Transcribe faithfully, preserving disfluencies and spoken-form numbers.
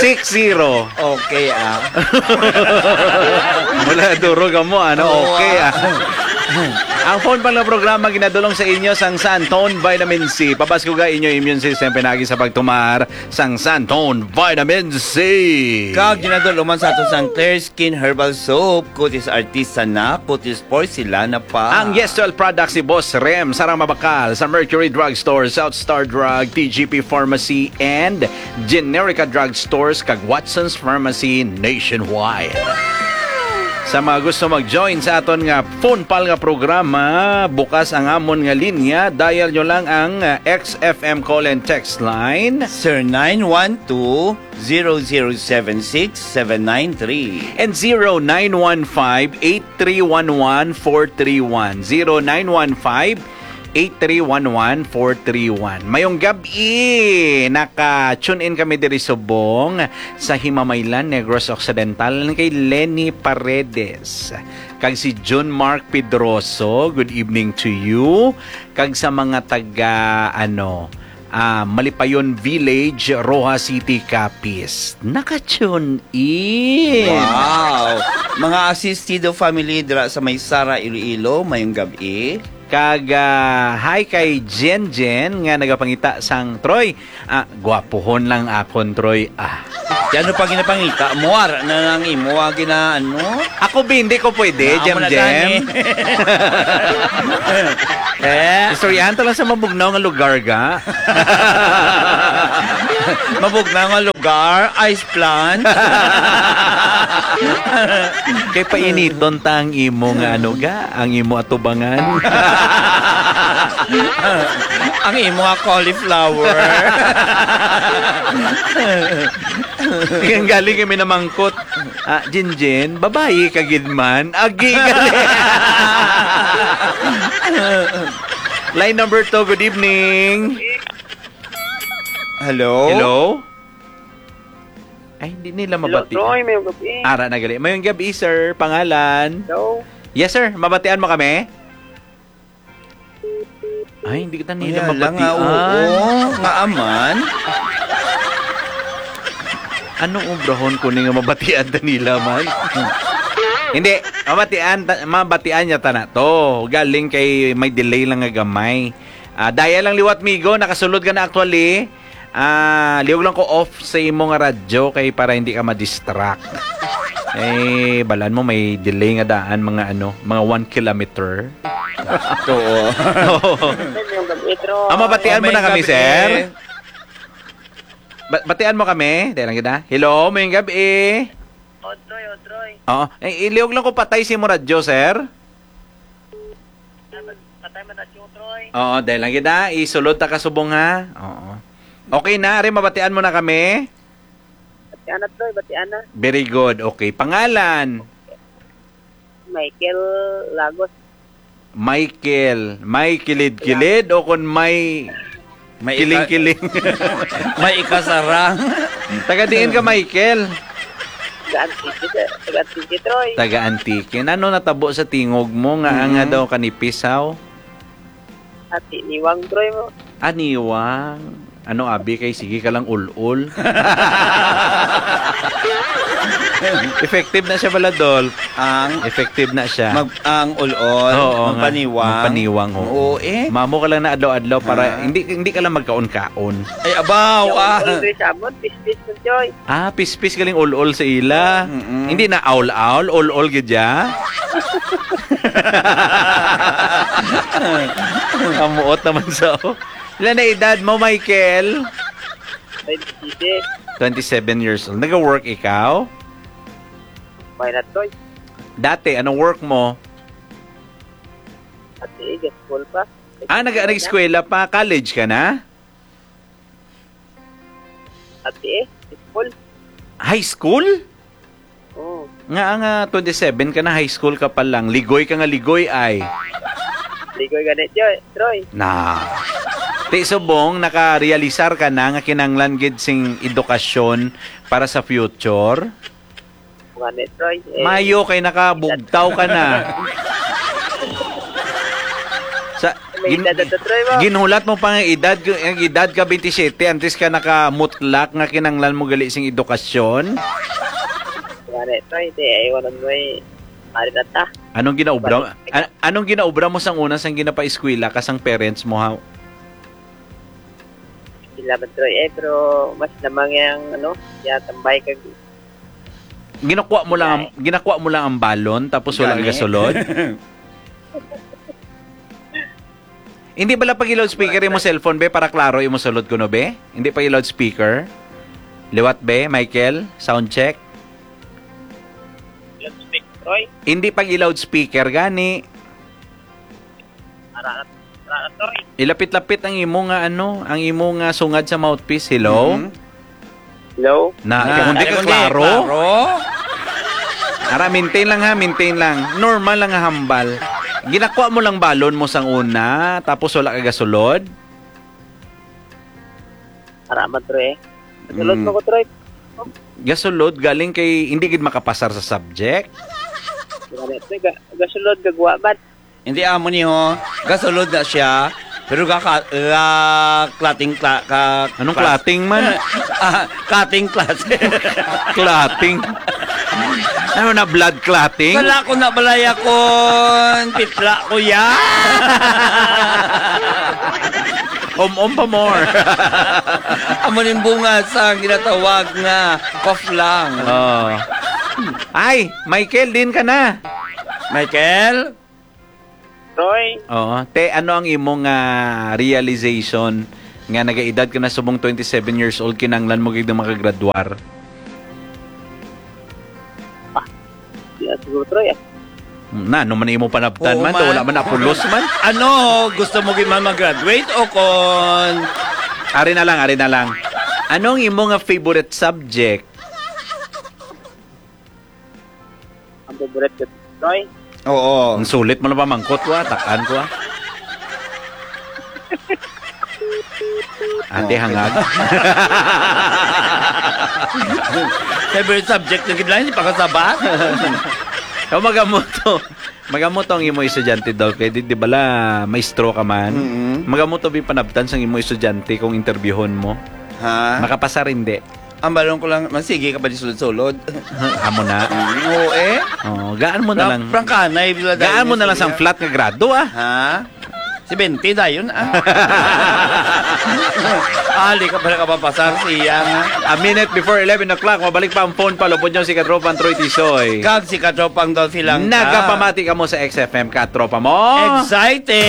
Six zero. Okay, ah. Wala, duro ka mo, ano? Oo, okay, ah. Ang phone pal nga programa ginadulong sa inyo sang Santon Vitamin C. Pabaskuga inyo immune system pinagi sa pagtumar sang Santon Vitamin C. Kag ginadulong man sa ato sang Clear Skin Herbal Soap, Cutis Artisanal, Cutis Porcelana pa. Ang Yes Oil products ni Boss Rem, sarang mabakal sa Mercury Drugstore, South Star Drug, T G P Pharmacy, and Generica Drugstores kag Watson's Pharmacy nationwide. Sa mga gusto mag-join sa aton nga phone pal nga programa, bukas ang amon nga linya. Dial nyo lang ang, uh, X F M call and text line. Sir nine one two, zero zero seven six seven nine three. And zero nine one five, eight three one one, four three one. Zero nine one five, eight three one one, four three one. Mayong gab-i! Naka-tune in kami diri subong sa Himamaylan, Negros Occidental, kay Lenny Paredes. Kag si John Mark Pedroso, good evening to you. Kag sa mga taga, ano, ah, Malipayon Village, Roxas City, Capiz. Naka-tune in. Wow! Mga Asistido family dira sa may Sara, Iloilo, mayong gab-i. Kag, ah, hi kay Jen Jen nga nagapangita sang, "Troy, ah, gwapuhon lang akon, Troy, ah." Di ano pa ginapangita mo? Ara na lang imo, ah, gina-, ano? Ako, bi, hindi ko pwede, Naa mo Jem na Jem. gani. Eh? Istoryahan ta lang sa mabugnaw nga lugar, ga. Mabugnaw nga lugar, ice plant. Kay painiton ta ang imo nga ano, ga, ang imo atubangan. Ang imo nga cauliflower. Ang galing kay may namangkot. Ah, Jinjin, babayi ka gid man. Agi, gali. Line number two, good evening. Hello? Hello? Ay, hindi nila Hello, mabati. Troy. Mayong gabi. Ara na gali. Mayong gabi, sir. Pangalan? Hello? Yes, sir. Mabatian mo kami? Ay, hindi kita nila Wala nga, mabatian. Oo, nga aman. Ano obrahon ko ni nga mabatian ta nila man? Hindi, mabatian, ta- mabatian niya ta na to. Galing kay may delay lang nga gamay. Ah, daya lang liwat, migo, nakasulod ka na actually. Ah, liog lang ko off sa imo nga radyo kay para hindi ka ma-distract. Eh, balan mo may delay nga daan, mga ano, mga one kilometer. Oo. Mayong gabi, Troy. Ah, mabatian mo May na kami, gabi. sir? Ba- batian mo kami? Dahil lang kita. Hello, mayong gabi. Otroy, Otroy. Oo. Eh, iliog lang ko patay si mo radyo, sir. Patay man na, Otroy. Oo, dahil lang kita. Isulod ta kasubong, ha? Oo. Okay na, ari, mabatian mo na kami? Batian na, Troy, batian na. Very good. Okay. Pangalan? Michael Lagos. Michael. May kilid-kilid o kung may May ika- kiling-kiling? May ikasarang. Taga diin ka, Michael? Taga Antique, sir. Taga Antique, Troy. Taga Antique. Ano natabo sa tingog mo nga, Mm-hmm. nga daw kanipisaw? Ati niwang, Troy, mo. Aniwang. Ano, abi, kay sige ka lang ul-ul. Effective na siya pala, Dol. Ang Effective na siya. mag-, ang ul-ul, Oo, nga. magpaniwang. Magpaniwang, oo. Oo, eh. Mamo ka lang na adlaw-adlaw para Ah. hindi, hindi ka lang magkaon-kaon. Ay, abaw, Yung ah. ul-ul, Troy, sabon, pispis, Troy. Ah, pispis galing ul-ol sa ila. Mm-mm. Hindi na aul-aul, ul-ol gid ya. Amuot naman sa, oh. Ilan na edad mo, Michael? Twenty-six. Twenty-seven years old. Nag-work ikaw? May na, Troy. Dati, anong work mo? Dati, eh, school pa. Ah, nag-, nag-eskwela pa. College ka na? Ati eh, school. High school? Oo. Nga nga twenty-seven ka na, high school ka pa lang. Ligoy ka nga ligoy ay. Ligoy gani, Joy, Troy. Na. Ti subong, nakarealisar ka na nga kinanglan gid sing edukasyon para sa future? Gani, Troy. Eh, Mayo kay nakabugtaw ka na. Sa, May Gin- edad na to, Troy, ba? Ginhulat mo pa nga edad, ang edad ka twenty-seven, antes ka nakamutlak nga kinanglan mo gali sing edukasyon? Wala, Troy. Di, ay, wala mo, eh. Pare na ta. Anong ginaobra, Balik. An- anong ginaobra mo sang una sang ginapaeskwela ka sang parents mo, ha? Sila man, Troy, eh, pero mas lamang yang, ano, ya tambay kag Ginakuha mo lang ang, Ay. Ginakuha mo lang ang balon tapos wala Gani. Ka gasulod? Hindi bala pag loudspeaker imo cellphone, be, para klaro imo sulod kuno, be? Hindi pag loudspeaker? Liwat, be, Michael? Sound check? Loudspeaker, Troy? Hindi pag loudspeaker, gani. Ara, ara, Troy. Ilapit-lapit ang imo nga, ano, ang imo nga sungad sa mouthpiece. Hello? Mhm. Hello? Na, Na, kung di ka kung di klaro. Klaro. Ara, maintain lang ha, maintain lang. Normal lang nga hambal. Ginakuha mo lang balon mo sang una, tapos wala ka gasulod? Ara man, Troy. Gasulod Mm. mo ko, Troy. Gasulod, galing kay hindi gid makapasar sa subject. Wala, Troy. Ga-, gasulod, gagwa man. Hindi amo ni ho. Gasulod na siya. Pero ga, ga, klating, kla, ka, Anong kla- klating man? Ah, cutting class. Klating. Ano na, blood clotting? Wala ko na balay akon. Pitla ko ya. Om-om pa more. Amo ning bunga sa ginatawag nga cough lang. Oh. Ay, Michael, din ka na. Michael? Roy? Oo. Te, ano ang imong, ah, realization nga nagaedad ka na subong twenty-seven years old, kinanglan mo gid nga makagraduar? Ah, di na siguro, Troy, ah. Na, ano man imo panabtan Oo, man, to, man. Wala man napulos man. Ano, gusto mo gid man mag-graduate o kon Ari na lang, ari na lang. Ano ang imo nga favorite subject? Ang favorite ko, Troy? Oo. Ang sulit mo na pamangkot ko, ah. Takan ko, ah. Ate, Oh. hangag. Favorite subject na gid lang, hindi pa kasabat. O, magamuto. Magamuto ang imo estudyante daw. Kay di, di bala, maestro ka man. Mm-mm. Magamuto bi panabtan sang imo estudyante kung interbyuhon mo. Ha? Makapasar, hindi. Ang balon ko lang, magsige ka pa di sulod-sulod. Amo na. Mm, oo, eh. Oh, gaan mo na Na, lang. Prangkanay, bila Gaan mo dayon na lang sang siya. Flat nga grado, ah. Ha? Si Bente dayon, ah. Ali ka pala kapapasar siya, nga. A minute before eleven o'clock, mabalik pa ang phone pa, lupod niyo si Katropang Troy Tisoy. Kag si Katropang Dolphy lang ka. Nagapamati ka mo sa X F M, Katropa mo. Excited!